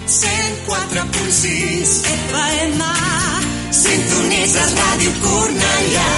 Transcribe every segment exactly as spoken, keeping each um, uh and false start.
cent quatre punt sis F M. Sintonitzes Ràdio Cornellà.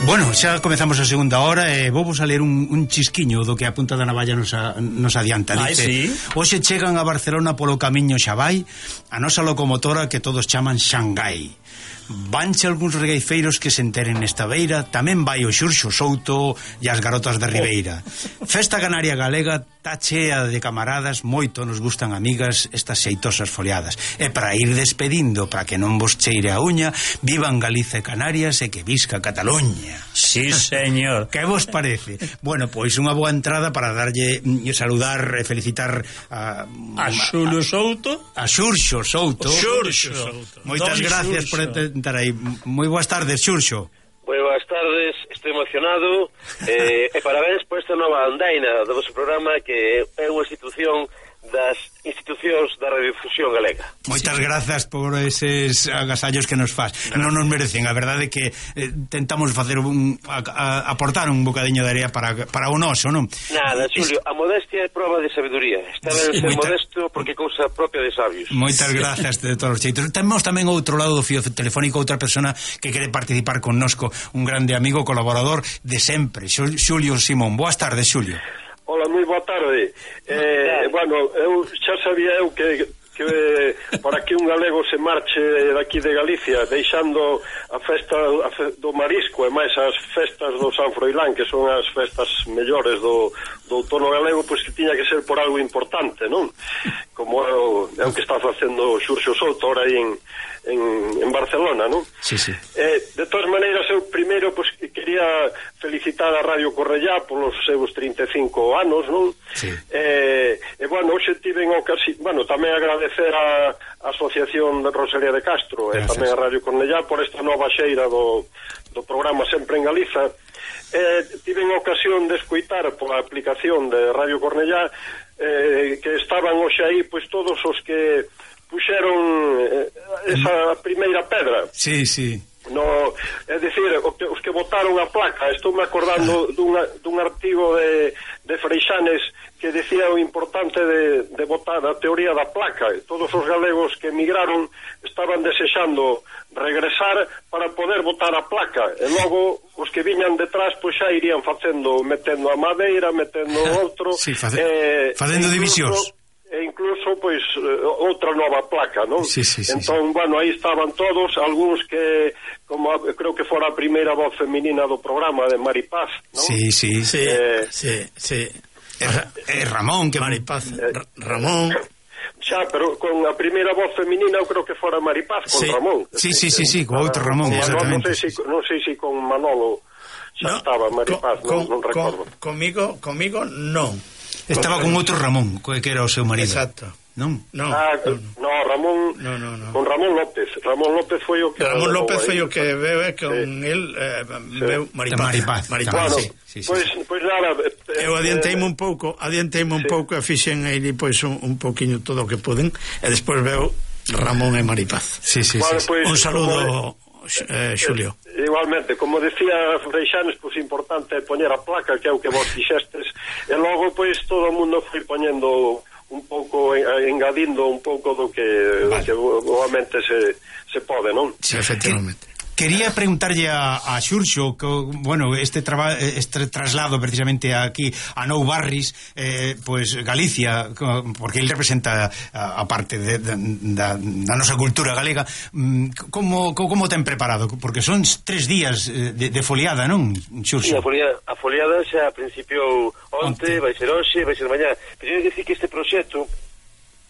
Bueno, xa comezamos a segunda hora e vou vos a ler un, un chisquiño do que a punta da navalla nos, a, nos adianta. Dice, Ai, sí? hoxe chegan a Barcelona polo camiño xa vai a nosa locomotora que todos chaman Xangai. Vanche algúns regueifeiros que se enteren nesta beira. Tamén vai o Xurxo Souto e as garotas da Ribeira. Festa canaria galega tá chea de camaradas. Moito nos gustan, amigas, estas xeitosas foliadas. E para ir despedindo, para que non vos cheire a uña, vivan Galiza e Canarias e que visca Cataluña. Sí, señor. Que vos parece? Bueno, pois unha boa entrada para darlle e saludar e felicitar a a Xulio Souto, a Xurxo Souto. Xurxo Souto. Moitas Don gracias Xurxo. por estar aí. Moi boas tardes, Xurxo. Moi boas tardes, estou emocionado eh, e parabéns por esta nova andaina do vosso programa, que é unha institución das institucións da radiodifusión galega. Moitas sí. grazas por eses agasallos que nos faz. No. Non nos merecen, a verdade é que eh, tentamos facer un a, a, aportar un bocadiño de area para, para o noso, non? Nada, Xulio, a modestia é prova de sabiduría. Está ben sí, ser moita... modesto porque é cousa propia de sabios. Moitas grazas de todos os xeitos. Temos tamén outro lado do fío telefónico outra persona que quere participar connosco, un grande amigo, colaborador de sempre, Xulio Simón. Boas tardes, Xulio. Hola, moi boa tarde. Eh, bueno, eu xa sabía eu que, que para que un galego se marche daqui de Galicia deixando a festa a fe, do marisco e máis as festas do San Froilán, que son as festas mellores do, do outono galego, pois que tiña que ser por algo importante, non? Como é o, é o que está facendo Xurxo Souto ahora aí en En, en Barcelona, non? Sí, sí. Eh, de todas maneiras, eu primeiro pues, quería felicitar a Radio Cornellá polos seus trinta e cinco anos, non? Sí. Eh, e, bueno, hoxe tiven ocasión, bueno, tamén agradecer a, a Asociación de Rosalía de Castro e tamén a Radio Cornellá por esta nova xeira do, do programa Sempre en Galiza. Eh, tiven ocasión de escoitar pola aplicación de Radio Cornellá eh, que estaban hoxe aí, pois todos os que puxeron eh, esa primeira pedra. Sí, sí. No, é dicir, os que botaron a placa. Estou me acordando dun, dun artigo de, de Freixanes que decía o importante de, de botar a teoría da placa. Todos os galegos que emigraron estaban desexando regresar para poder botar a placa, e logo os que viñan detrás pois xa irían facendo, metendo a madeira, metendo outro, sí, face, eh, facendo divisións e incluso, pois, outra nova placa, non? Sí, sí, sí, entón, sí. bueno, aí estaban todos, algúns que, como creo que fora a primeira voz feminina do programa de Maripaz, non? Sí, sí, sí, eh, sí, sí. É Ramón, que Maripaz, eh, Ramón. Xa, pero con a primeira voz feminina eu creo que fora Maripaz, con sí. Ramón. Sí, sí, sí, sí, con outro Ramón, Manolo, exactamente. Non sei, si, non sei si con Manolo xa no, estaba Maripaz, con, non, non recordo. Con, comigo, comigo non. Estaba con outro Ramón, que era o seu marido. Exacto. Non? No, ah, no, no, Ramón, no, no, no. con Ramón López. Ramón López foi o que Ramón López foi o que veu e con sí. el eh, sí. veu Maripaz. Maripaz. Maripaz, bueno, sí. Sí, sí, pois, sí. pois nada, eh, Eu adianteime un pouco, adianteime un sí. pouco e fixen aí pois un, un pouquiño todo o que puden e despois veu Ramón e Maripaz. Sí, sí, bueno, sí. pois, Un saludo, como, eh, Xulio. Eh, igualmente, como decía Freixanes, pois importante é poñer a placa, que é o que vos fixestes, e logo pois todo o mundo foi poñendo un pouco, engadindo un pouco do que, vale. do que obviamente se, se pode, non? Sí, efectivamente. Quería preguntarlle a, a Xurxo que, bueno, este, traba, este traslado precisamente aquí a Nou Barris, eh, pues Galicia, porque ele representa a, a parte de, de, da, da nosa cultura galega. Como, como ten preparado? Porque son tres días de, de foliada, non, Xurxo? Sí, a foliada, a foliada xa a principio onte, onte, vai ser hoxe, vai ser mañá. Pero eu dicir que este proxecto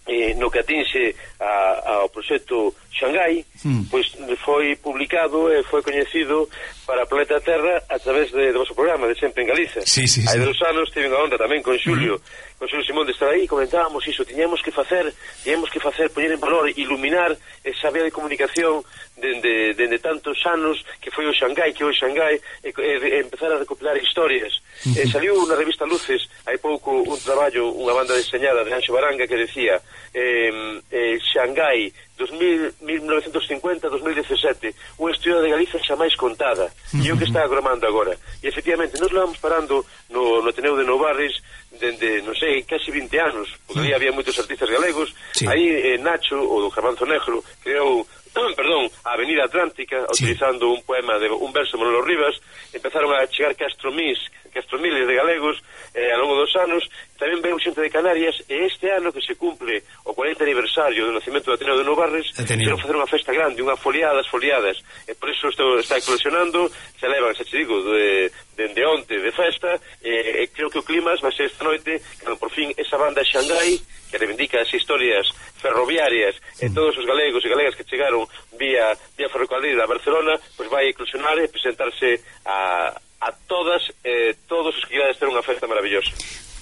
Eh, no que atinxe a, ao proxecto Xangai, hmm. pois foi publicado e foi coñecido para a planeta Terra a través de, do vosso programa de Sempre en Galiza. Sí, sí, Hai sí. dos anos tive a onda tamén con Xulio, hmm. con o señor Simón de estar aí, comentábamos iso, tiñamos que facer, tiñamos que facer, poñer en valor, iluminar esa vía de comunicación dende, dende tantos anos que foi o Xangai, que é o Xangai, e, e, e empezar a recopilar historias. Uh-huh. Eh, saliu na revista Luces hai pouco un traballo, unha banda deseñada de Anxo Baranga que decía eh, eh, Xangai mil novecentos cincuenta a dos mil dezasete, unha historia de Galicia xa máis contada, e o que está agramando agora. E efectivamente, nos levamos parando no, no Ateneo de Novarres dende, non sei, casi vinte anos, porque ali había moitos artistas galegos. Sí. Aí eh, Nacho, o do Garbanzo Negro, creou perdón, a Avenida Atlántica, sí, utilizando un poema de un verso de Manolo Rivas. Empezaron a chegar castromís, castromiles de galegos eh, ao longo dos anos. Tamén veo xente de Canarias, e este ano que se cumple o cuarenta aniversario do nacimento do Ateneo de Novarres, quero facer unha festa grande, unha foliadas, foliadas, e por iso estou, está coleccionando, se levan, se te digo, de, de, de onte de festa, e, e creo que o clima vai ser esta noite, cando por fin esa banda Xangai, que reivindica as historias ferroviarias e todos os galegos e galegas que chegaron vía, vía ferrocarril a Barcelona, pois vai eclosionar e presentarse a, a todas, eh, todos os que querades ter unha festa maravillosa.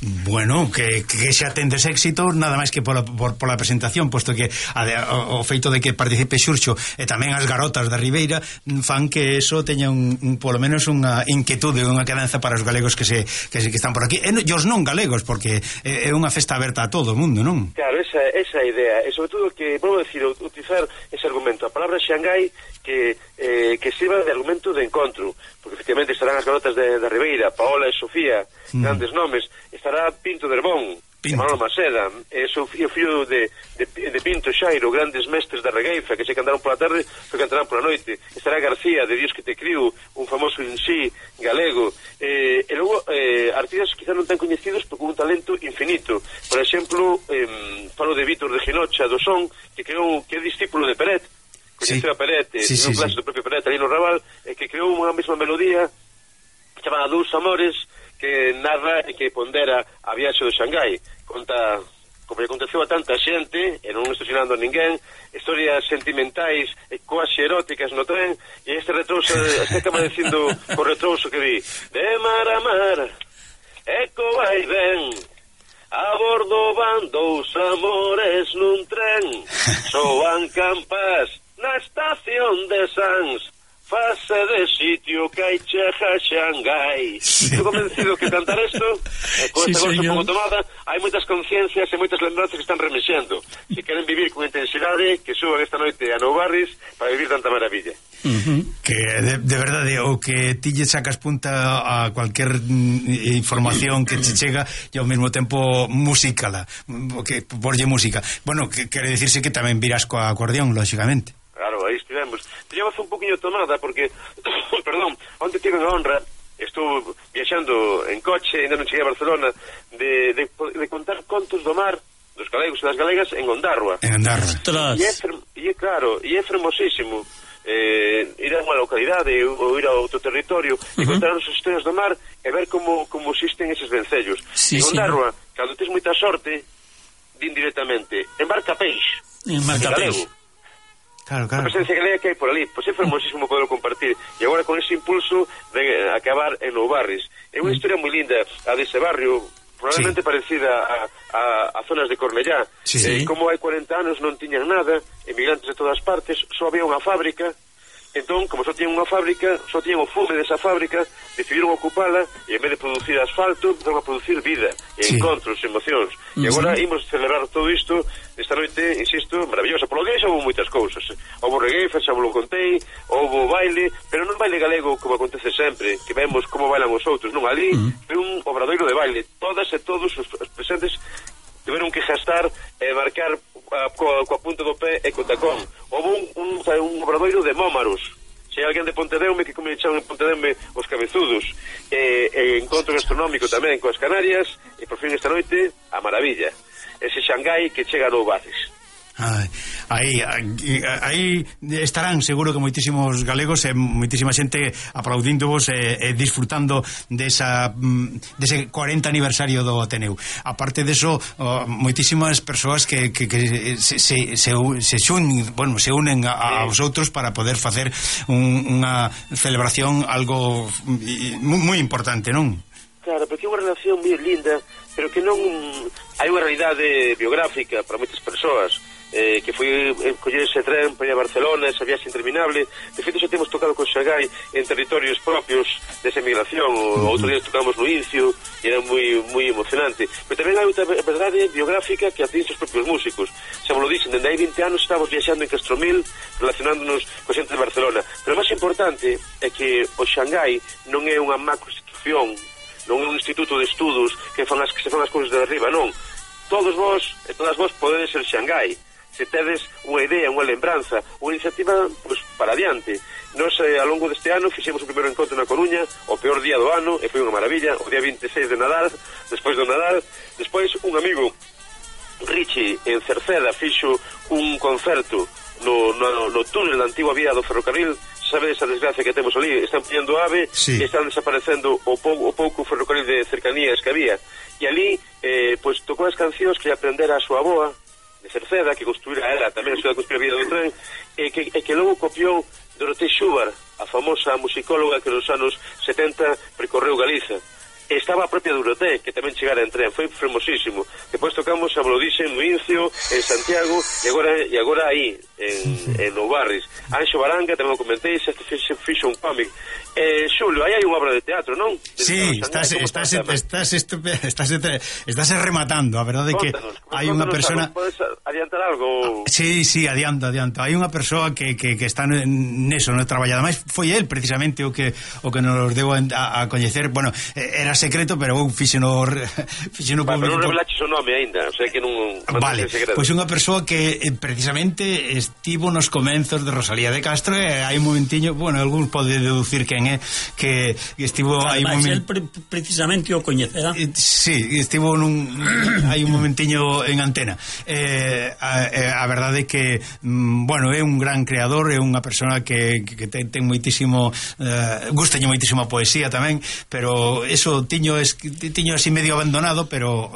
Bueno, que, que xa tendes éxito nada máis que pola, por, pola presentación, posto que a de, o, o feito de que participe Xurxo e tamén as garotas da Ribeira fan que eso teña un, un polo menos unha inquietude, unha quedanza para os galegos que se que, se, que están por aquí, e os non galegos, porque é, é unha festa aberta a todo o mundo, non? Claro, esa, esa idea, e sobre todo que, vou decir, utilizar ese argumento, a palabra Xangai que, eh, que sirva de argumento de encontro, porque efectivamente estarán as garotas de, da Ribeira, Paola e Sofía, mm. grandes nomes, estará Pinto de Herbón, Manolo Maceda, e o fillo de, de, de Pinto Xairo, grandes mestres da regueifa que se cantaron pola tarde, que cantarán pola noite. Estará García, de Dios que te criu, un famoso en sí galego, eh, e logo eh, artistas quizá non tan coñecidos pero con un talento infinito. Por exemplo, eh, falo de Vítor de Ginocha do Son, que creou, que é discípulo de Peret, coñeceu sí. a Peret, sí, sí, un clase sí. do propio Peret ali no Raval, e que creou unha mesma melodía chamada Dous Amores, que narra e que pondera a viaxe do Xangai. Conta como lle aconteceu a tanta xente, e non estou xinando a ninguén, historias sentimentais e quasi eróticas no tren, e este retrouso, este acaba dicindo o retrouso que vi, de mar a mar, eco vai ben, a bordo van dous amores nun tren, soan campas na estación de Sans, fase de sitio que hai chega Xangai. Sí. Estou convencido que cantar isto, e con sí, esta cosa un pouco tomada, hai moitas conciencias e moitas lembranzas que están remexendo. Se queren vivir con intensidade, que suban esta noite a Novarres para vivir tanta maravilla. Uh-huh. Que de, de verdade, o que ti lle sacas punta a cualquier mm, información que te chega e ao mesmo tempo musicala, que porlle música. Bueno, que quere dicirse que tamén virás coa acordeón, lógicamente. Claro, aí estivemos. Teníamos un poquinho tomada porque, perdón, onde tive a honra, estou viaxando en coche, ainda non cheguei a Barcelona, de, de, de contar contos do mar dos galegos e das galegas en Ondarroa. En Ondarroa. E é, e é claro, e é fermosísimo eh, ir a unha localidade ou ir a outro territorio uh-huh. e contar as historias do mar e ver como, como existen eses vencellos. Sí, en Ondarroa, sí. Cando tens moita sorte, din directamente, embarca peixe. Embarca peixe. Claro, claro. A presencia galega que hai por ali, pois é fermosísimo poderlo compartir, e agora con ese impulso de acabar en Novarres. É unha historia moi linda a dese barrio, probablemente sí. parecida a, a, a zonas de Cornellá, sí. eh, como hai cuarenta anos non tiñan nada, emigrantes de todas partes, só había unha fábrica. Entón, como só tiñan unha fábrica, só tiñan o fume desa fábrica, decidiron ocupala e en vez de producir asfalto, empezaron a producir vida, e sí. encontros, emocións. Uh-huh. E agora imos celebrar todo isto esta noite, insisto, maravillosa. Por lo que xa houve moitas cousas. Houve regueifa, xa vos contei, houve baile, pero non baile galego como acontece sempre, que vemos como bailan os outros. Non, ali uh-huh. foi un obradoiro de baile. Todas e todos os presentes tiveron que gastar e marcar a, coa, coa punta do pé e co tacón. Houve un, un, un obradoiro de mómaros. Se hai alguén de Pontedeume, que como le chaman en Pontedeume os cabezudos, e, e encontro gastronómico tamén coas Canarias, e por fin esta noite a maravilla, ese Xangai que chega a Novarres. Aí, aí estarán seguro que moitísimos galegos e moitísima xente aplaudíndovos e, e disfrutando desa, dese cuarenta aniversario do Ateneu. Aparte deso, oh, moitísimas persoas que, que, que se, se, se, se, xun, bueno, se unen a, aos outros para poder facer un, unha celebración algo moi importante, non? Claro, porque é unha relación moi linda, pero que non hai unha realidade biográfica para moitas persoas, eh, que foi eh, coller ese tren para ir a Barcelona, esa viaxe interminable. De feito, xa temos tocado con Xangai en territorios propios desa emigración. O outro día tocamos no Incio e era moi moi emocionante. Pero tamén hai outra verdade biográfica que atinge os propios músicos. Xa vos lo dixen, dende hai vinte anos estamos viaxando en Castromil, relacionándonos co xente de Barcelona. Pero o máis importante é que o Xangai non é unha macroinstitución, non é un instituto de estudos que fan as que se fan as cousas de arriba, non. Todos vos e todas vos podedes ser Xangai se tedes unha idea, unha lembranza, unha iniciativa pues, para adiante. Nos, eh, ao longo deste ano, fixemos o primeiro encontro na Coruña, o peor día do ano, e foi unha maravilla, o día vinte e seis de Nadal, despois do Nadal. Despois, un amigo, Richie, en Cerceda, fixo un concerto no, no, no túnel da antigua vía do ferrocarril. Sabe esa desgracia que temos ali, están pillando ave, sí. E están desaparecendo o, pou, o pouco ferrocarril de cercanías que había, e ali eh, pues, tocou as cancións que aprendera a súa aboa de Cerceda, que construíra ela tamén a súa construíra vida do tren, e que, e que logo copiou Dorothée Schubert, a famosa musicóloga que nos anos setenta percorreu Galiza. Estaba a propia Dorothée, que tamén chegara en tren, foi fermosísimo. Depois tocamos a Blodixen no Incio, en Santiago, e agora, e agora aí, en, en Oubarris. Anxo Baranga, tamén o comentei, se fixo, fixo un cómic. Eh, Xulio, aí hai unha obra de teatro, non? De sí, estás, estás, estás, estás, estás, estás rematando, a verdade é que hai unha persona... Podes adiantar algo? Sí, sí, adianto, adianto. Hai unha persoa que, que, que está neso, no traballado. Ademais, foi el, precisamente, o que o que nos deu a, a coñecer. Bueno, era secreto, pero eu fixeno fixeno público. Pero non revelaches o nome aínda, o sea que non... Vale, pois pues unha persoa que eh, precisamente estivo nos comenzos de Rosalía de Castro, e hai un momentiño, bueno, algún pode deducir quen é, que estivo aí un momento... Pre precisamente o coñecerá. Eh, sí, estivo nun hai un momentiño en antena. Eh, a, a verdade é que mm, bueno, é un gran creador, é unha persoa que, que ten, ten moitísimo eh, gustalle moitísimo a poesía tamén, pero eso tiño, es, tiño así medio abandonado, pero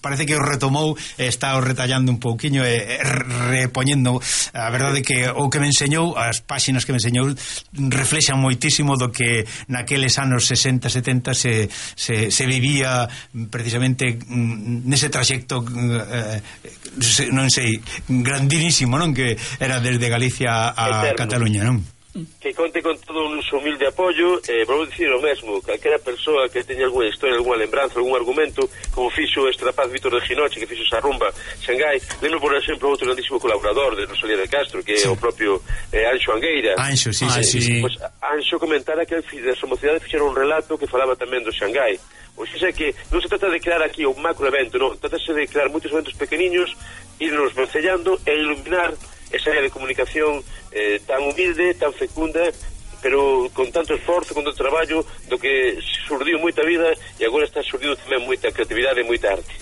parece que o retomou e está o retallando un pouquiño e repoñendo. A verdade é que o que me enseñou, as páxinas que me enseñou reflexan moitísimo do que naqueles anos sesenta, setenta se, se, se vivía precisamente nese traxecto eh, non sei, grandísimo, non? Que era desde Galicia a Eterno. Cataluña, non? Que conte con todo un humilde apoio. eh, Vou dicir o mesmo, calquera persoa que teña algunha historia, algunha lembranza, algún argumento, como fixo este rapaz Víctor de Ginoche, que fixo esa rumba Xangai. Lembro, por exemplo, outro grandísimo colaborador de Rosalía de Castro, que é sí. o propio eh, Anxo Angueira. Anxo, sí, ah, sí, sí. Pues, Anxo comentara que a súa mocidade fixera un relato que falaba tamén do Xangai. O sea que non se trata de crear aquí un macro evento, non, trátase de crear moitos eventos pequeniños, irnos vencellando e iluminar esa área de comunicación eh, tan humilde, tan fecunda, pero con tanto esforzo, con tanto traballo, do que surdiu moita vida e agora está surdindo tamén moita creatividade e moita arte.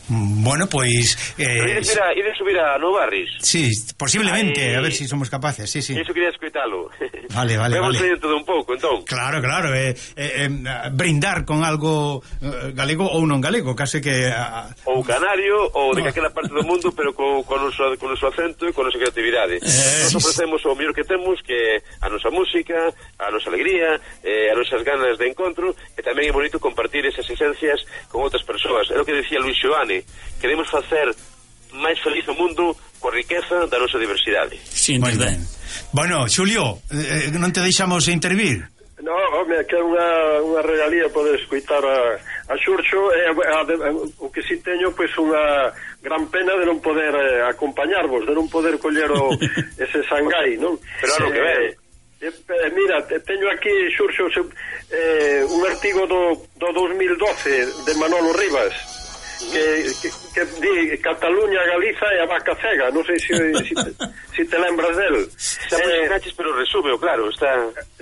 Bueno, pois eh, ides, a, ides subir a Novarris? Sí, posiblemente, Ay, a ver si somos capaces. Sí, sí. Iso quería escoitalo. Vale, vale, Vemos vale. todo un pouco, entón. Claro, claro, eh, eh, eh, brindar con algo eh, galego ou non galego, case que uh... ou canario ou de calquera parte do mundo, pero co, con, o con o seu acento e con a nosa creatividade. Eh, Nos ofrecemos o mellor que temos, que a nosa música, a nosa alegría, eh, as nosas ganas de encontro, e tamén é bonito compartir esas esencias con outras persoas. É o que decía Luis Xoane, queremos facer máis feliz o mundo coa riqueza da nosa diversidade. Sí, moi ben. Bueno, Xulio, eh, non te deixamos intervir? No, home, que é unha, unha regalía poder escutar a, a Xurxo, e a, a, a, o que si teño, pois, unha gran pena de non poder eh, acompañarvos, de non poder coller o, ese Xangai, non? Pero ano que ven. Eh, eh, mira, teño aquí, Xurxo, eh, un artigo do, do dos mil doce de Manolo Rivas, que, que, que di Cataluña, Galiza e a vaca cega. Non sei se si, si, si te lembras del. Está eh, caches, pero resume, claro, está...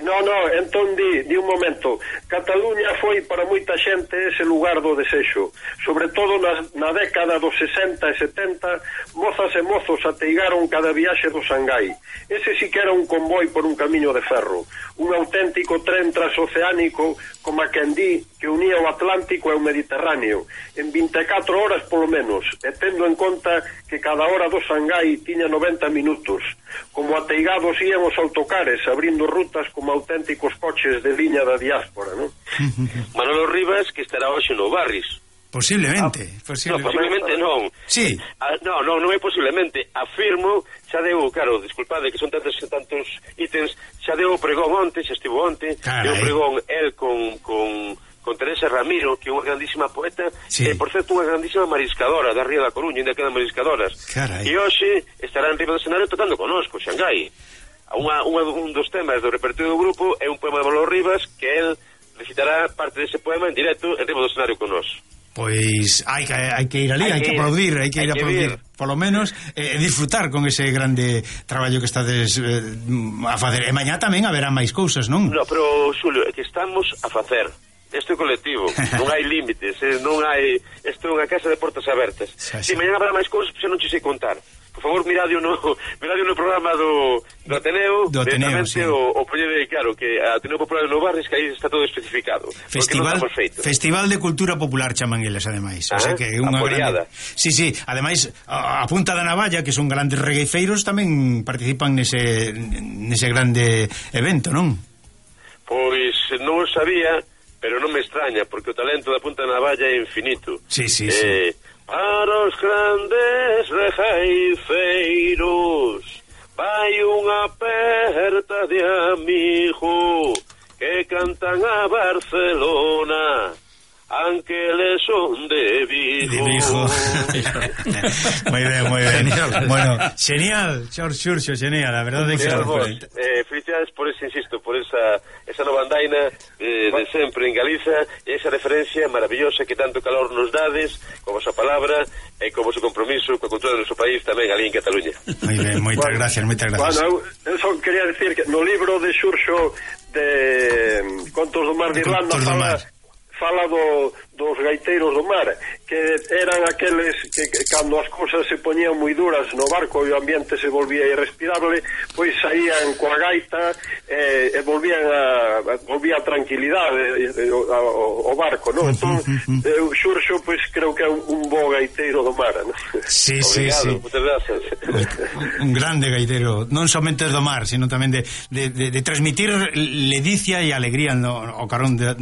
No, no, entón di, di un momento. Cataluña foi para moita xente ese lugar do desexo. Sobre todo na, na década dos sesenta e setenta, mozas e mozos ateigaron cada viaxe do Xangai. Ese sí que era un convoi por un camiño de ferro, un auténtico tren transoceánico, como a quen di, que unía o Atlántico e o Mediterráneo. En vinte e catro horas polo menos, e tendo en conta que cada hora do Shanghái tiña noventa minutos. Como ateigados ían os autocares, abrindo rutas como auténticos coches de liña da diáspora, non? Manolo Rivas, que estará hoxe no Barris. Posiblemente, ah, posiblemente. No, posiblemente non. Sí. Ah, no, no, non é posiblemente. Afirmo, xa deu, claro, disculpade que son tantos tantos ítems, xa deu o pregón onte, xa estivo onte, deu o pregón el con, con, con Teresa Ramiro, que é unha grandísima poeta, sí. E, por certo, unha grandísima mariscadora da Ría da Coruña, ainda quedan mariscadoras. Carai. E hoxe estará en riba do escenario tocando conosco, Shanghái. Unha, unha, un dos temas do repertorio do grupo é un poema de Manolo Rivas, que el recitará parte dese poema en directo en riba do escenario conosco. Pois hai que, hai que ir ali, hai, hai que, que aplaudir, hai que ir a aplaudir, polo menos, e eh, disfrutar con ese grande traballo que estades eh, a facer. E mañá tamén haberá máis cousas, non? No, pero, Xulio, é que estamos a facer. Este colectivo, non hai límites, eh, non hai... Isto é unha casa de portas abertas. Se si mañá habrá máis cousas, xa non te sei contar. Por favor, miradio no, miradio no programa do, do Ateneo, do Ateneo, sí. o, o proñede, claro, que a Ateneo Popular de Barris, que aí está todo especificado. Festival, Festival de Cultura Popular chaman eles, ademais. Ah, o sea que unha grande... Sí, sí, ademais, a, a Punta da Navalla, que son grandes regueifeiros, tamén participan nese, nese grande evento, non? Pois non o sabía, pero non me extraña, porque o talento da Punta da Navalla é infinito. Sí, sí, eh, sí. Para os grandes regueifeiros vai unha aperta de amigo que cantan a Barcelona, aunque le son de Vigo. De Vigo. Moi ben, moi ben. Bueno, genial, Xor Xurxo, genial, a verdade que eh, felicidades por ese, insisto, por esa esa nova andaina eh, de sempre en Galiza, e esa referencia maravillosa que tanto calor nos dades, con vosa palabra e con vosso compromiso coa cultura do noso país tamén ali en Cataluña. Moi ben, moitas bueno, gracias, moitas gracias. Bueno, eu só quería decir que no libro de Xurxo de Contos do Mar de Irlanda fala... fala do, dos gaiteiros do mar, que eran aqueles que, que cando as cousas se poñían moi duras no barco e o ambiente se volvía irrespirable, pois saían coa gaita e, e volvían a, a volvía a tranquilidade e, o, o barco, non? Entón, eu Xurxo, pois creo que é un, un bo gaiteiro do mar, non? Sí, sí, sí. Moitas gracias. Un grande gaiteiro, non somente do mar, sino tamén de, de, de, de transmitir ledicia e alegría no, o carón de,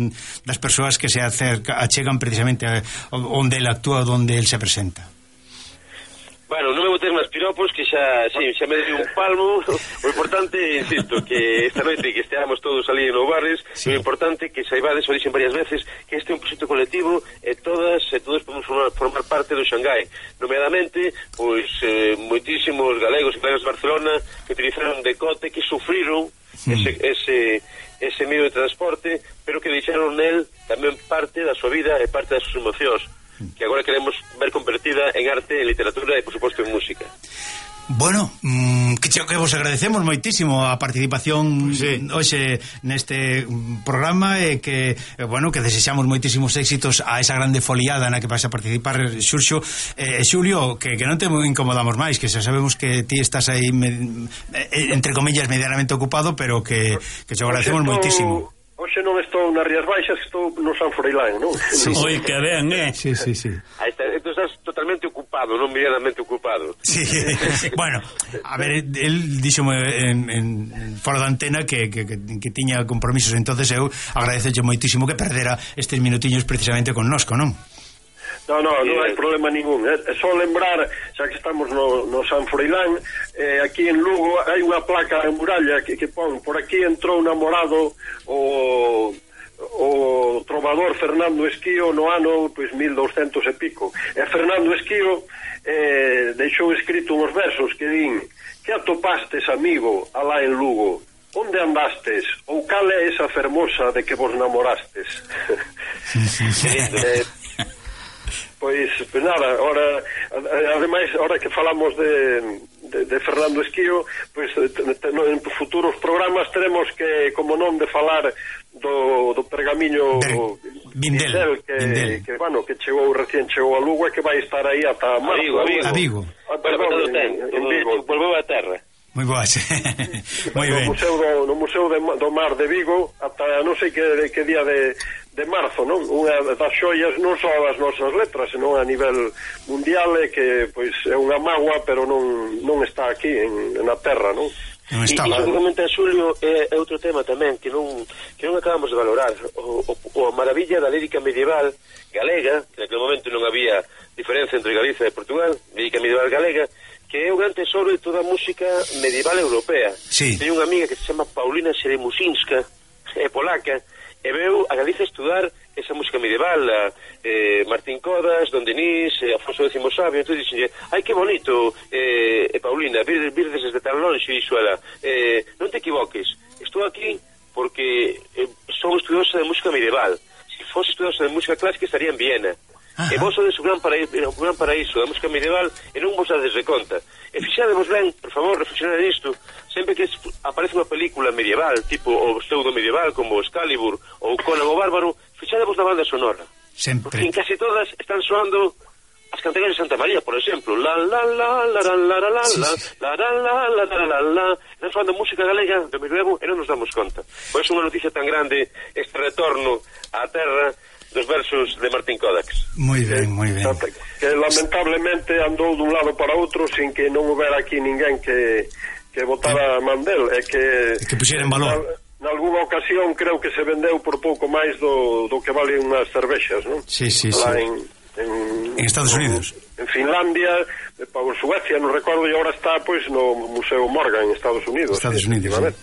das persoas que se acerca, achegan precisamente a, onde ele actúa, onde ele se presenta. Bueno, non me botes máis piropos, que xa, sí, xa me dei un palmo. O importante, insisto, que esta noite que esteamos todos ali no Barris, sí. O importante que saibades, o dixen varias veces, que este é un proxecto colectivo e todas e todos podemos formar, formar parte do Shanghái. Nomeadamente, pois, eh, moitísimos galegos e galegas de Barcelona que utilizaron decote, que sufriron sí. ese... ese ese medio de transporte, pero que deixaron nel tamén parte da súa vida e parte das súas emocións, que agora queremos ver convertida en arte, en literatura e, por suposto, en música. Bueno, mmm, que, que vos agradecemos moitísimo a participación sí. hoxe neste programa e que, bueno, que desexamos moitísimos éxitos a esa grande foliada na que vais a participar, Xurxo. Eh, Xulio, que, que non te incomodamos máis, que xa sabemos que ti estás aí me, entre comillas medianamente ocupado, pero que, que te agradecemos moitísimo. Hoxe non estou nas Rías Baixas, estou no San Froilán, non? Sí, sí. Oi, que ben, eh? Sí, sí, sí. Aí está, entón estás totalmente ocupado, non medianamente ocupado. Sí, bueno, a ver, el díxome en, en fora da antena que, que, que, que tiña compromisos, entonces eu agradeceche moitísimo que perdera estes minutiños precisamente con nosco, non? No, no, non hai problema ningún. É só lembrar, xa que estamos no, no San Froilán, eh, aquí en Lugo hai unha placa en muralla que, que pon, por aquí entrou namorado o, o trovador Fernando Esquío no ano pois mil douscentos e pico. E Fernando Esquío eh, deixou escrito uns versos que din: que atopastes, amigo, alá en Lugo? Onde andastes? Ou cal é esa fermosa de que vos namorastes? eh, Pois, pois nada, ahora, ademais, ahora que falamos de, de, de Fernando Esquío, pois en futuros programas teremos que, como non, de falar do, do pergamiño Vindel, que, Vindel. que, bueno, que chegou, recién chegou a Lugo e que vai estar aí ata marzo. A Vigo, a Vigo. A Vigo. Ah, perdón, en, en Vigo. Volveu a terra. Moi boas. Moi ben. No Museo do, no Museo de, do Mar de Vigo ata non sei que, que día de, de marzo, non? Unha das xoias non só das nosas letras, senón a nivel mundial, é que pois é unha mágoa, pero non non está aquí en, na terra, non? Non está, e, e seguramente, Xulio, é, é outro tema tamén que non que non acabamos de valorar, o, o, o a maravilla da lírica medieval galega, que naquele momento non había diferencia entre Galicia e Portugal, lírica medieval galega, que é un gran tesoro de toda a música medieval europea. Sí. Teño unha amiga que se chama Paulina Seremusinska, é polaca, e veu a Galicia estudar esa música medieval, a, eh, Martín Codas, Don Denis, eh, Afonso X Sabio. Entón dixenlle, ai que bonito, eh, eh, Paulina, vir, virdes desde tan longe, dixo ela, eh, non te equivoques, estou aquí porque eh, son estudiosa de música medieval. Se fose estudiosa de música clásica estaría en Viena. Ajá. E vos sodes o gran paraíso, o gran paraíso da música medieval e non vos dades de conta. E fixadevos ben, por favor, reflexionad nisto. Sempre que aparece unha película medieval, tipo o pseudo medieval, como Excalibur ou Conan o Bárbaro, fixadevos na banda sonora. Sempre. Porque en casi todas están soando as cantareiras de Santa María, por exemplo. La la la la la la la la sí, la sí. la la la la la la la. Están soando música galega do medievo e non nos damos conta. Pois é unha noticia tan grande este retorno á terra dos versos de Martín Codax. Moi ben, moi ben. Que lamentablemente andou dun lado para outro sin que non houbera aquí ninguén que, que votara a Mandel, e que, que puxera en valor. Na, nalgúna ocasión creo que se vendeu por pouco máis do, do que valen unhas cervexas, non? Sí, sí, Lá sí. En, en, en Estados Unidos. En Finlandia, en Suecia, non recordo, e agora está pois no Museo Morgan en Estados Unidos. Estados Unidos, sí.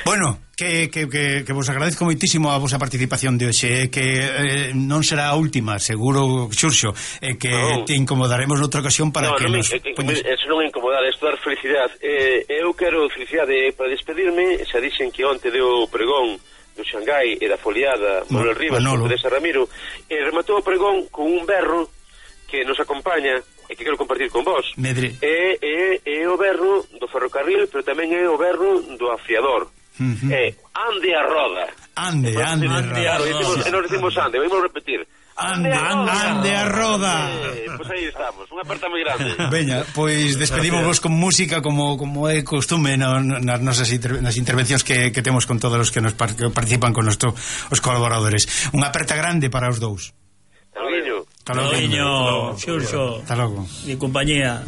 Bueno, que, que, que, que vos agradezco moitísimo a vosa participación de hoxe, que eh, non será a última, seguro, Xurxo, eh, que no. te incomodaremos noutra ocasión para no, que no nos... Me, eh, poñes... Eso non é incomodar, é dar felicidade. Eh, eu quero felicidade para despedirme, xa dixen que onte deu o pregón do Xangai e da foliada Manuel Rivas, con Teresa Ramiro, e rematou o pregón con un berro que nos acompaña e que quero compartir con vos. Medre. É, é, é o berro do ferrocarril, pero tamén é o berro do afiador. Uh-huh. É ande a roda. Ande, ande, ande a roda. E non decimos ande, vamos repetir. Ande, ande, ande a roda. Eh, pois aí estamos, unha aperta moi grande. Veña, pois despedímos con música como como é costume no, nas nosas inter, nas intervencións que, que temos con todos os que nos par, que participan con nuestro, os colaboradores. Unha aperta grande para os dous. Hasta logo. Hasta logo, Xurxo. Hasta logo. Mi compañía.